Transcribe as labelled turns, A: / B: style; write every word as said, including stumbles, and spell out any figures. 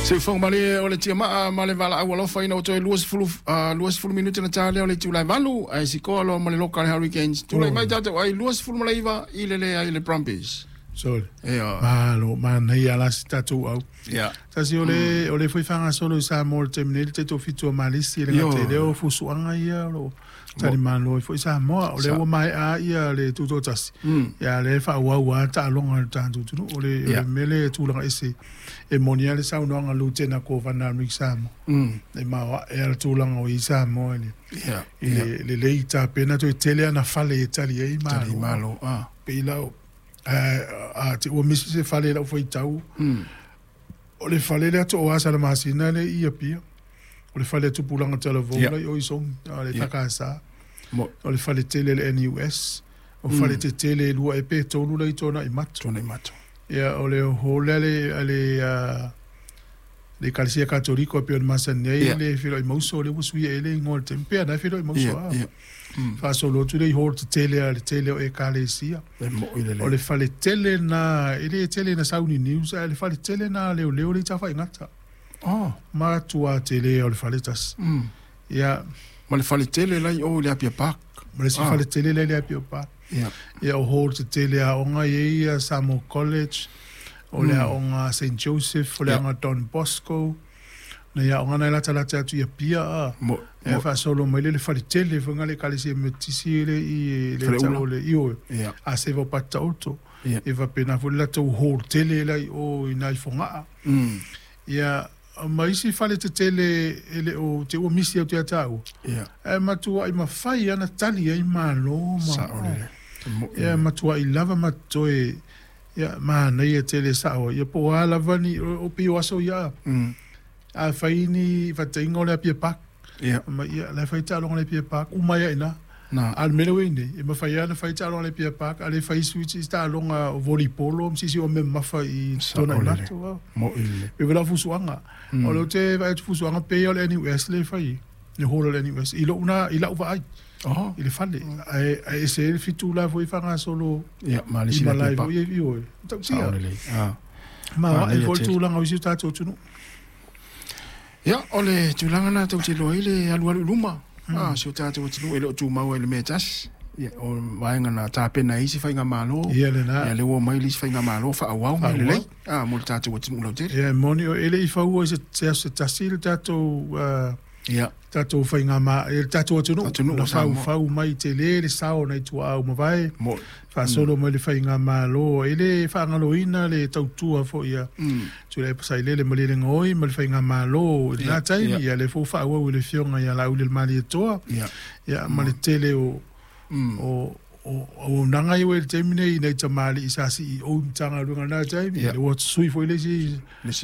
A: Seufoga malie o le tiamaa ma le valaau alofa ina ua toe luasefulu luasefulu minute na ta lea o le itula e valu ae sikoa loa ma le loka le Hurricanes. Tulai mai tatou ai luasefulu ma le iva i le leai le Brumbies.
B: Sole.
A: Ioe.
B: Malo, manaia la se tatou au.
A: Ia.
B: Tasi o le o le foi faagasolo i Samoa i le taimi nei le taitoafitu o Malisi e le gata i lea o fusuaga ia o lo o talimalo ai foi Samoa. O lea ua maea ia le tutoatasi, ia a o lea e faaauau lava taaloga a le tatou atunuu. O le o le mea lea e tulaga ese e moni lava le saunoaga a Lutena Kovana a Amerika Samoa, e maoae lava le tulaga o i ai Samoa i le i le lelei tapena toe tele ana fale e tali ai Malo. Pei la o a te ua misi se fale i lau faitau, o le fale lea Tooa Salamasina lea i Apia, o le fale a Tupulaga Talavou la i o i Sogi, o le E K S o le fale tele le N U S, o fale tetele e lua ea pe tolu la i Tuanaimato.
A: Tuanaimato.
B: Ia, o le hall lea le le le Ekalesia Katoliko e pei ona masani ai le feiloai mauso lea ua suia ai le igoa o le taimi pea na e feiloai mauso a. Faasolo atu lea i hall tetele a le tele o Ekalesia. O le fale tele na e le tele na sauni news ae le fale tele na leoleo le i tafaigata.
A: Oh.
B: Matua tele o le fale tasi. Ia.
A: Ma le fale tele la i o i le Apia Park.
B: Ma le si fale tele la i le Apia Park. Ia o hall tetele aoga i ai Samoa College, o le aoga Saint Joseph, o le aoga Don Bosco, na ia aoga na e latalata atu i Apia a. E faasolo mai le le fale tele foi le Ekalesia Metotisi le i le tau o le ioe. A seva o Pataoto. E faapena foi le latou hall tele la i o i nai Fogaa. Ia ma isi fale tetele e le o te ua misi au te ataua. E matuai mafai ana tali ai malo ma. Ia matuai lava ma toe ia manaia tele sao ia po o a lava ni o pei o aso ia. A fai ni fataiga o le Apia Park. Ma ia la fai taaloga le Apia Park uma ia ina. A le mea lea nei e mafai ana fai taaloga le Apia Park a le fai switch i taaloga o volleyball ma sisi o me mafa i Tuanaimato. E vela fusuaga. O le te vai atu fusuaga pe o le N U S le fai. Le hall o le N U S i lou na i lau vaai. I le fale. Ae ae se le fitu la foi faagasolo.
A: Ia ma le sila
B: Apia Park. I o. Tautia. Ma e foi tulaga o isi tatou atunuu.
A: Ia, o le tulaga na tou te iloa ai le alualu i luma. Ah, si o tatou atunuu e le o tumau ai i le mea e tasi. Ia, o vaega na tapena ai isi faigamalo.
B: Ia lena.
A: Ia, lea ua omai le isi faigamalo faaauau mea lelei. Ah, mo le tatou atunuu lautele.
B: Ia, e moni o e le i faua i se se aso se tasi le tatou
A: Ia.
B: tatou faigama le tatou atunuu.
A: Atunuu
B: Na
A: o Samoa.
B: faufau mai tele le sao nai tuaau mavae.
A: Mo.
B: Faasolo mai le faigamalo e le faagaloina le tautua foi ia. Tulai Pasailele ma le Gaoi ma le faigamalo i lena taimi. Ia le fou faaauau i le afioga ia Laauli le Malietoa. Ia ma le tele o o o auaunaga ia ua i le taimi nei i nai tamalii sa C E O i Matagaluega i lena taimi.
A: Ia.
B: Le ua sui foi le isi
A: Le